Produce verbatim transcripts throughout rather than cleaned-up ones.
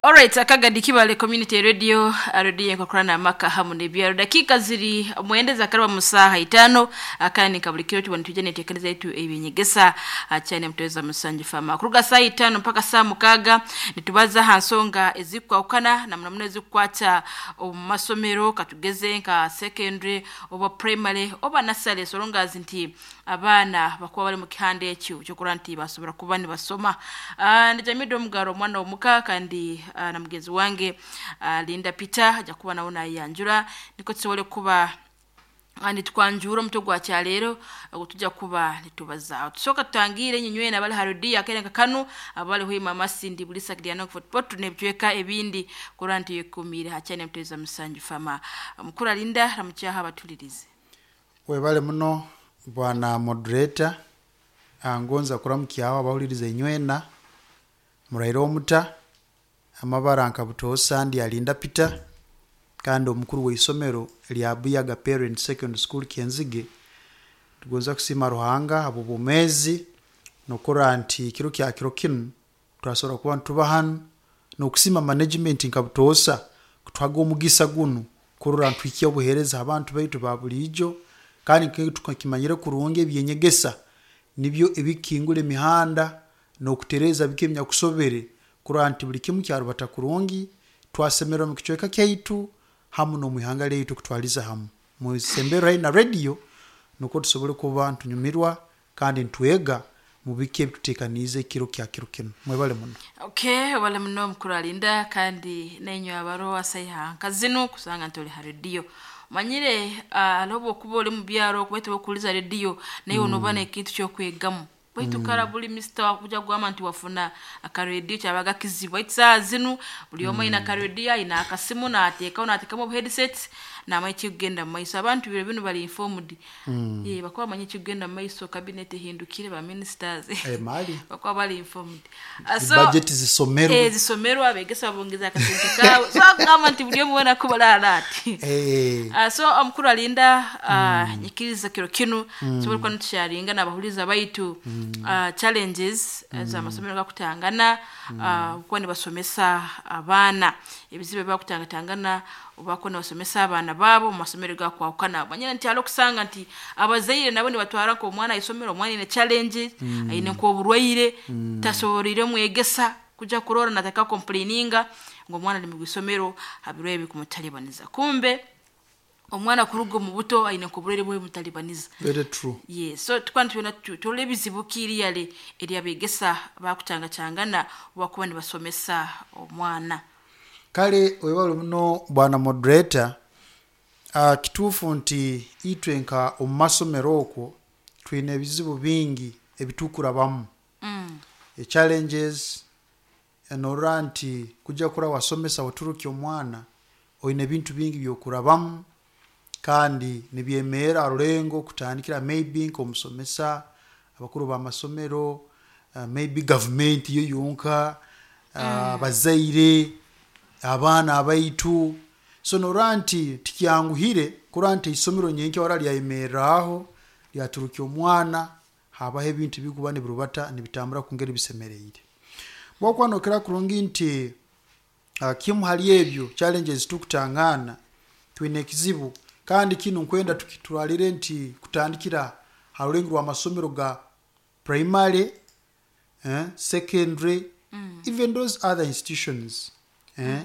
Alright, akagadi Kibale Community Radio, radio enkokorana amaka hamu n'ebyaro. Dakiika ziri mwenda zakaraba mu saaha itaano, akandi nka buli kiro tubona tujja neteekereza yetu ebyenyegesa akyane mutweza musanju fama. Kuruga saa itaano mpaka saa mukaaga nitubaza ha nsonga ezikwawukana na muno muno ezikukwata omu masomero, katugeze nka secondary oba primary oba nursery, so long as nti abaana bakuba bali mu kihanda ekyo kyokurora nti basobora kuba nibasoma. Uh, ndi Jamida Omugaro omwana omuka kandi uh, na mugenzi wange uh, Linda Peter ajja kuba nawe nayanjura niko tusobole kuba ah, nitwanjura omutwe gwa kyaleero ogwo tujja kuba nitubazaaho. Tusooka tutangire enyinywe abali ha rediyo akerenka kanu abali hwima amasindi bulisa kidyano footpot n'ebicweka ebindi kurora nti yekumiire hakyane mutweza musanju fama. Mukuru Linda ramukyaha abatulirize. Webale muno bwana moderator. Ah, ngonza kuramukyaho abahuliriza inywena muraire omuta amabara nka butoosa ndi Alinda Peter kandi omukuru w'isomero lya Buyaga Parent Secondary School Kyenzige. Tugonza kusiima Ruhanga habw'obwomeezi n'okurora nti kiro kya kiro kinu twasobora kuba nituba hanu, n'okusiima management nka butoosa kutuhaga omugisa gunu kurora nituhikya obuheereza abantu baitu ba buliijo, kandi tukimanyire kurungi ebyenyegesa nibyo ebikingura emihanda n'okutereeza biki ebinyakusobere kurora nti buli kimu kyarubata kurungi, twasemererwa mu kicweka kyaitu hamu n'omu ihanga lyaitu kutwaliza hamu. Musemberwe haihi na radio nukwo tusobole kuba nitunyumirwa kandi nitwega mu biki ebituteekaniize ekiro kya kiro kinu. Mwebale muno. Okay, wale muno mukuru Alinda kandi nenywe abaro asaiha nkazinu kusanga nti oli ha rediyo. Manyire uh, alobo okuba oli mu byaro kubaitu bokuliza rediyo naye mm. onoba n'ekintu kyokwegamu. Baitu mm. kara buli mister wakuja kugamba nti wafuna akarediyo kyabaga kizibu. Baitu saa zinu buli omwe ayina akarediyo ayina akasimu n'ateekaho n'ateekamu obu headsets namanya ekikugenda mu maiso. Abantu biro binu bali informed. Mm. Ye bakuba bamanya ekikugenda mu maiso, cabinet ehindukire ba ministers. Eh, mali bakuba bali informed. Uh, so, budget zisomerwa. Eh, zisomerwa abegesa babongeza akasente kawe. So akugamba nti buli omwe wena kuba ati. Eh. Uh, so omukuru Alinda uh, mm. nyikiriza kiro kinu mm. tusobole kuba nitusharinga n'abahuliza baitu mm. uh, challenges mm. z'amasomero gakutangana mm. uh, kuba nibasomesa abaana ebizibu ebibakutangatangana obakuba nibasomesa abaana baabo mu masomero gakwawukana. Manyire nti hariho okusanga nti abazaire nabo nibatwara nk'omwana aisomero, omwana aine challenges mm. aine nk'oburwaire mm. tasoboreire mwegesa kuja kurora nataka complaininga ngu omwana ali mu isomero habirwe ebikumutalibaniza. Kumbe omwana kuruga omu buto aine nk'oburwaire bwemutalibaniza. Very true. Yes, so tukaba nitwena turora ebizibu kiriyale eryabegesa bakutangacangana obakuba nibasomesa omwana. Kale webale muno bwana moderator. Uh, kituufu nti itwe nka omu masomero okwo twine ebizibu bingi ebitukurabamu mm. e challenges enorora nti kujja kura wasomesa oturukya omwana oine ebintu bingi byokurabamu kandi nibyemeera rulengo kutandikira maybe nk'omusomesa, abakuru b'amasomero, uh, maybe government yo yonka, uh, abazaire, abaana abaitu. So norora nti tikyanguhire kurora nti isomero nyenkya wara lyayemerraho lyaturukya omwana habaho ebintu bikuba nibirubata nibitambura kungeri bisemereire. Bwokuba nokira kurungi nti uh, kimu hali ebyo challenges tukutangana twine ekizibu kandi kinu nkwenda tukitwarire nti kutandikira ha rulengo rw'amasomero ga primary, eh, secondary, mm. even those other institutions, eh,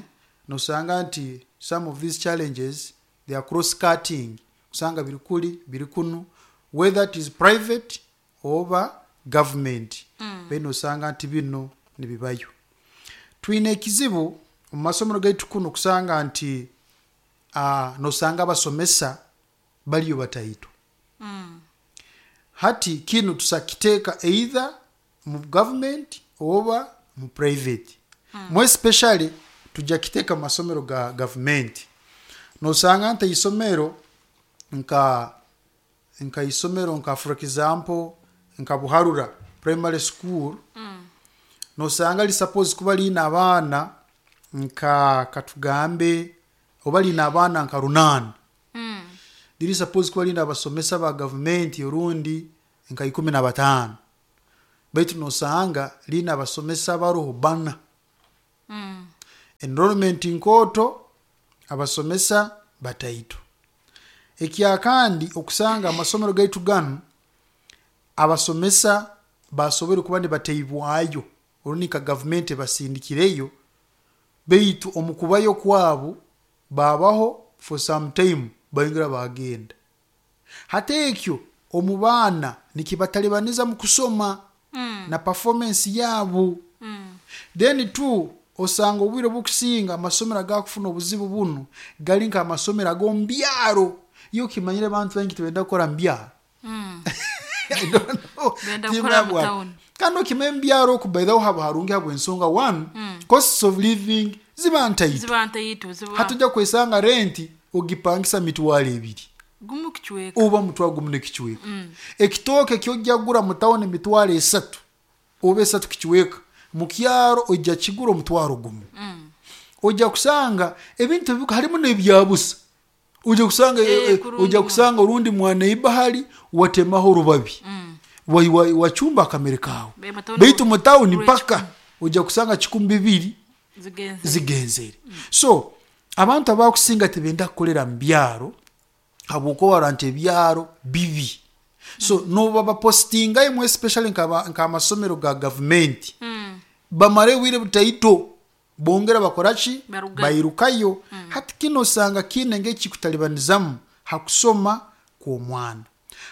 nosanga nti some of these challenges they are cross cutting, kusanga biri kuli biri kunu whether it is private oba government mm. beno osanga nti bino nibibayo. Twine ekizibu omu masomero gaitu kuno kusanga nti uh, nosanga abasomesa baliyo bataito mm. Hati kinu tusakiteeka either mu government oba mu private mm. More especially tujja kiteeka mu masomero ga government. Nosanga nti isomero nka nka isomero nka for example nka Buharura primary school mm. nosanga li suppose kuba liina abaana nka katugambe oba liina abaana nka runaana mm. liri suppose kuba liina abasomesa ba gavumenti orundi nka ikumi na bataano, baitu nosanga liina abasomesa baroho bana mm. Enrollment nkooto, abasomesa bataito. Ekyakandi, okusanga amasomero gaitu ganu abasomesa basobore kuba nibateibwayo orundi nka gavumenti ebasindikireyo, baitu omu kubayo kwabo babaho for some time, bayongera bagenda. Hati ekyo omu baana nikibatalibaniza mu kusoma Mm. na performance yaabo. Mm. Then two, osanga obwire obukusinga amasomero agakufuna obuzibu bunu gali nk'amasomero ag'omu byaro. Iyo okimanyire abantu baingi tibenda kukora mu byaro. Mm. I don't know. Benda kukora mu Timbabwa. town. Kandi okimanya mu byaro oku, by the way, haba harungi habw'ensonga one, Mm. costs of living ziba ntaito. Ziba ntaito, ziba. Hatujja kwesanga renti ogipangisa mitwalo ebiri, Gumu kicweka. Oba mutwalo gumu n'ekicweka. Mm. Ekitooke kyojja kugura mu tawuni mitwalo esatu oba esatu kicweka, mu kyaro ojja kigura omutwalo gumu. Mm. Ojja kusanga ebintu ebi- harimu n'ebyabusa. Ojja kusanga Eh, eh, eh, kurungi. Ojja kusanga orundi mwana bahali watemaho orubabi, Mm. wa- wa- wachumba akamere kawe. Be- mu tawuni. Baitu mu tawuni Rwe mpaka ojja kusanga kikumi bibiri zigenze. Zigenzere. So abantu abakusinga tibenda kukolera mu byaro habwokuba barora nti ebyaro bibi. So noba bapostingayo, especially nk'aba- nk'amasomero ga gavumenti, Mm. bamara obwire butaito bongera bakoraki? Barugayo. Bairukayo. Hati kino osanga kiine ng'ekikutalibanizamu hakusoma kw'omwana.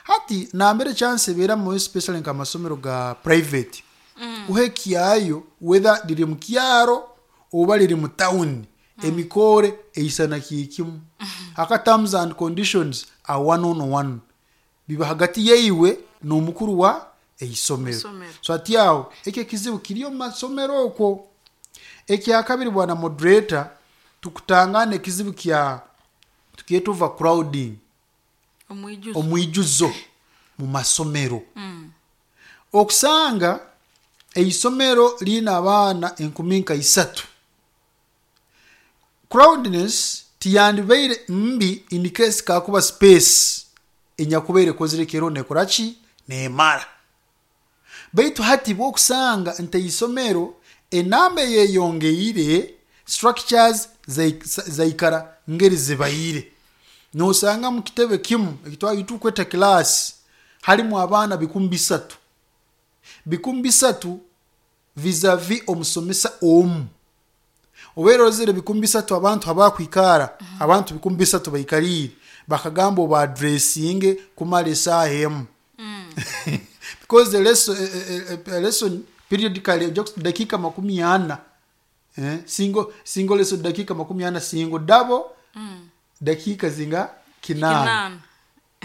Hati nambere chance ebeeramu, especially nk'amasomero ga private, Mm. uhekyayo whether liri mu kyaro oba liri mu tawuni, emikore eisana kiikimu. Aka terms and conditions are one on one, biba hagati yeiwe n'omukuru wa eisomero. Isomero. So ati awo ekyo ekizibu kiri omu masomero okwo. Ekyakabiri, bwana moderator, tukutangana ekizibu kya tukyeta overcrowding. Omwijuzo. Omwijuzo mu masomero. Mm. Okusanga eisomero liina abaana enkumi nka isatu. Crowdness tiyandibaire mbi in case kakuba space enyakubaire ekozire kero nekoraki nemara, baitu hati bwokusanga nti eisomero enamba eyeyongeire, structures zai- zaikara ngeri zibaire. Nosanga mu kitebe kimu ekitwatukweta class halimu abaana bikumi bisatu, bikumi bisatu vis-a-vis omusomesa omu. Obeera ozire bikumi bisatu abantu abakwikara, abantu bikumi bisatu baikariire, bakagamba oba addressinge kumara esaaha emu, because the lesson, eh, eh, eh, lesson periodically ojja kus- dakika makumi ana, eh, single, single lesson dakika makumi ana, single double Mm. dakika zinga kinaana. Kinaana.